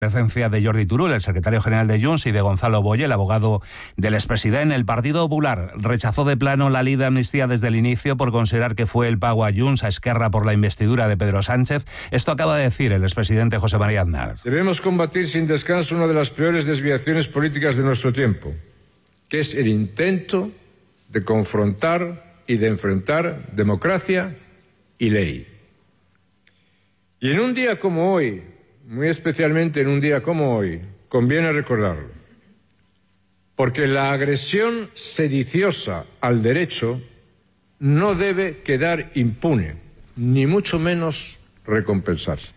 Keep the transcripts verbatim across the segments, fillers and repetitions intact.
Presencia de Jordi Turull, el secretario general de Junts, y de Gonzalo Boye, el abogado del expresidente. El Partido Popular rechazó de plano la ley de amnistía desde el inicio por considerar que fue el pago a Junts, a Esquerra, por la investidura de Pedro Sánchez. Esto acaba de decir el expresidente José María Aznar. Debemos combatir sin descanso una de las peores desviaciones políticas de nuestro tiempo, que es el intento de confrontar y de enfrentar democracia y ley. Y en un día como hoy, muy especialmente en un día como hoy, conviene recordarlo, porque la agresión sediciosa al derecho no debe quedar impune, ni mucho menos recompensarse.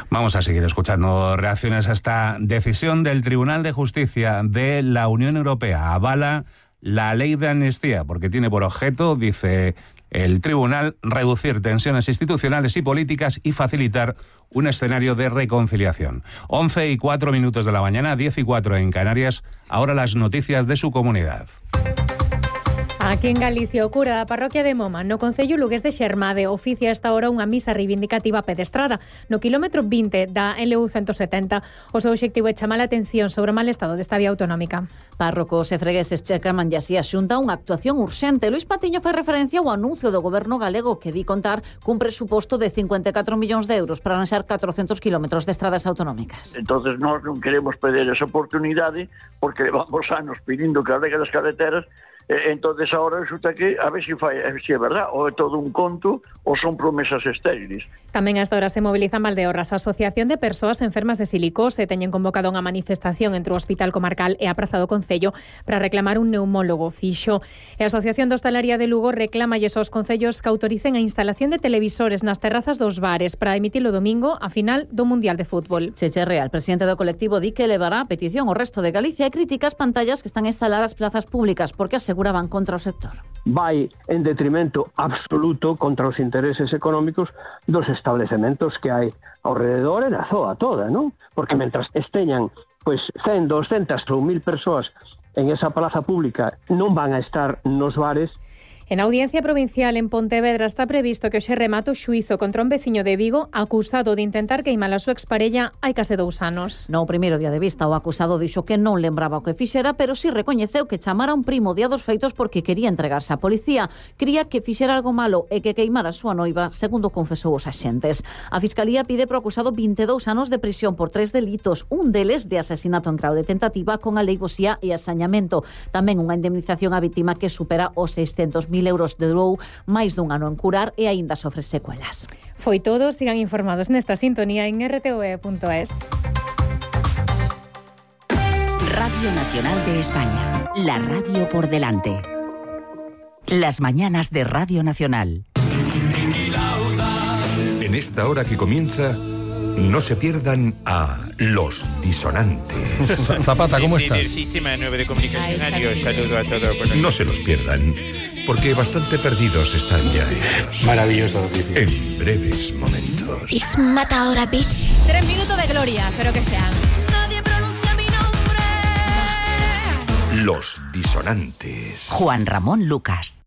Vamos a seguir escuchando reacciones a esta decisión del Tribunal de Justicia de la Unión Europea. Avala la ley de amnistía porque tiene por objeto, dice el tribunal, reducir tensiones institucionales y políticas y facilitar un escenario de reconciliación. once y cuatro minutos de la mañana, diez y cuatro en Canarias. Ahora las noticias de su comunidad. Aquí en Galicia, o cura da parroquia de Moma, no concello lugués de Xermade, oficia a esta hora unha misa reivindicativa pedestrada. No quilómetro vinte da L U ciento setenta, o seu obxectivo é chamar a atención sobre o mal estado desta vía autonómica. Párrocos e fregueses checaman e así a Xunta unha actuación urxente. Luís Patiño fai referencia ao anuncio do goberno galego que di contar cun presuposto de cincuenta e catro millóns de euros para lanzar catrocentos kilómetros de estradas autonómicas. Entonces nós non queremos perder esa oportunidade porque levamos anos pedindo que arregle as carreteras. Entonces ahora resulta que a ver se fai, se é verdad, ou é todo un conto ou son promesas estériles. Tamén hasta ahora se movilizan Valdeorras. A Asociación de Persoas Enfermas de Silicose teñen convocado unha manifestación entre o Hospital Comarcal e a Praza do Concello para reclamar un neumólogo fixo. E a Asociación de Hostalaría de Lugo reclama aos concellos que autoricen a instalación de televisores nas terrazas dos bares para emitir o domingo a final do Mundial de Fútbol. Cheche Real, presidente do colectivo, di que levará a petición ao resto de Galicia e critica as pantallas que están a instalar as plazas públicas porque aseguraban contra o sector. Vai en detrimento absoluto contra os intereses económicos dos establecementos que hai ao rededor e da zoa toda, non? Porque mentras esteñan pois cen, doscientas ou mil persoas en esa plaza pública non van a estar nos bares. En Audiencia Provincial en Pontevedra está previsto que hoxe remate o xuízo contra un veciño de Vigo acusado de intentar queimar a súa exparella hai case dous anos. No primeiro día de vista, o acusado dixo que non lembraba o que fixera, pero si recoñeceu que chamara un primo día dos feitos porque quería entregarse á policía. Cría que fixera algo malo e que queimara a súa noiva, segundo confesou os axentes. A Fiscalía pide pro acusado vinte e dous anos de prisión por tres delitos, un deles de asasinato en grau de tentativa con aleivosía e asañamento. Tamén unha indemnización á vítima que supera os seiscentos mil euros de durou máis dun ano en curar e aínda sofre secuelas. Foi todo, sigan informados nesta sintonía en r t v e punto es. Radio Nacional de España, la radio por delante. Las mañanas de Radio Nacional. En esta hora que comienza, no se pierdan a Los Disonantes. Zapata, ¿cómo estás? Del sistema nueve de comunicación, adiós, saludo a todos. No se los pierdan, porque bastante perdidos están ya ellos. Maravilloso. En breves momentos. It's Matadora Beach. Tres minutos de gloria, espero que sean. Nadie pronuncia mi nombre. Los Disonantes. Juan Ramón Lucas.